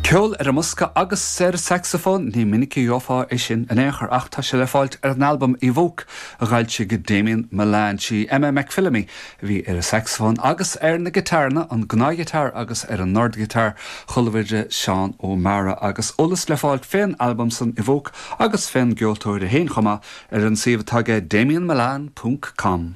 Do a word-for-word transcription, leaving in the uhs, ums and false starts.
Ceol ar an mbosca agus ar saxafón ní minic a gheofá é sin in aon chor ach tá sé le fáilt ar an albam Evoke a d'fhoilsigh Damien Milan sí Emma McPhillamy a bhí ar an saxafón agus ar na giotáranna an gnáthghiotár agus ar an ndordghiotár chualamar Seán O'Mara agus eolas le fáilt fén albam san Evoke agus fén gceoltóir é féin chomh maith ar an suíomh atá aige damienmilan.com.